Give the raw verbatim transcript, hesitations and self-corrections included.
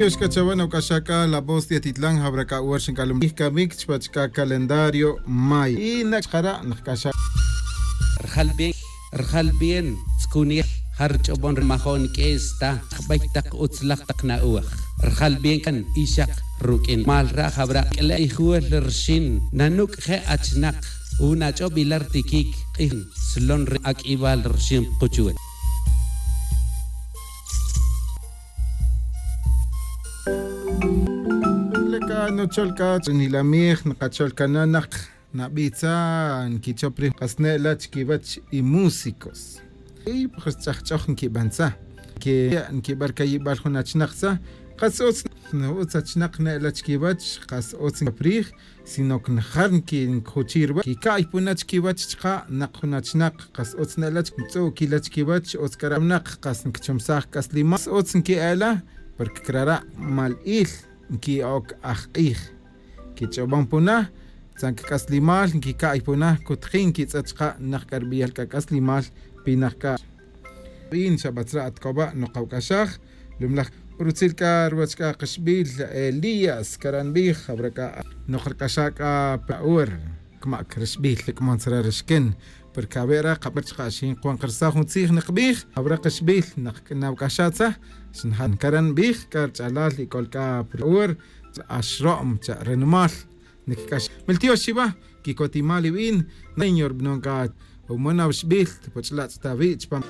Tiox c'a chawe nawc'axa c'a la voz de atitlan jabra c'a wer xinc'alum ij camic chpach c'a calendario may y nac' chkara' nakc'axa. Rjal bien, rjal bien tzcunij. Jarch'obon rmajon q'ues ta jbey tak utzlaj tak na'oj. Rjal bien can ixak ruq'uin mal ra' jabra' q'uele' ijwel rxin nanuc' je' achnak. Unach'ob ilar tiquic k'ij slon re aq'uibal rxin kuchwe. Leca nuchol c'a nilamij nakachol cana nak nabitza nquichop rij kasne'la chiquiwech y músicos y pues ch'ajch'oj nquibantza que nquibar cayibal jun achnakza. Kas utz no utz achnak ne'la chiquiwech kas utz nquipop rij sino que njar nquijuchi' ruwech quica'y puna chiquiwech chka' nak jun achnak. Kas utz ne'la ntz'u'quila chiquiwech utz c'ara' nak kas nquichumsaj c'aslimal kas utz nqui'ela porque crara' mal'il nqui'oc ajk'ij. Quich'obon puna tzan cac'aslimal nquica'y puna cutjin nquitz'et chka' nak c'arbiyal c'a c'aslimal pinak c'a. Bin xabatzra' atcoba' nokawc'axaj lumlaj rutzil c'a ruwech c'a kaxbil elías cara' nbij jabra c'a nokarc'axa' c'a pa ur. Cmac rixbil lic'mon tzara' rixquen porque awe' ra kaber chka' xin kuan karsaj jun tzij nakbij jabra kaxbil nak nawc'axatza. Xnjan cara' nbij c'a rch'alal y c'ol c'a pa ur. Axro'm cha' rinimal. Nic'ax miltiox chiwa quicotimal iwin. Señor bnon c'a umon awixbil. Puch'lach' ta wi' chpam.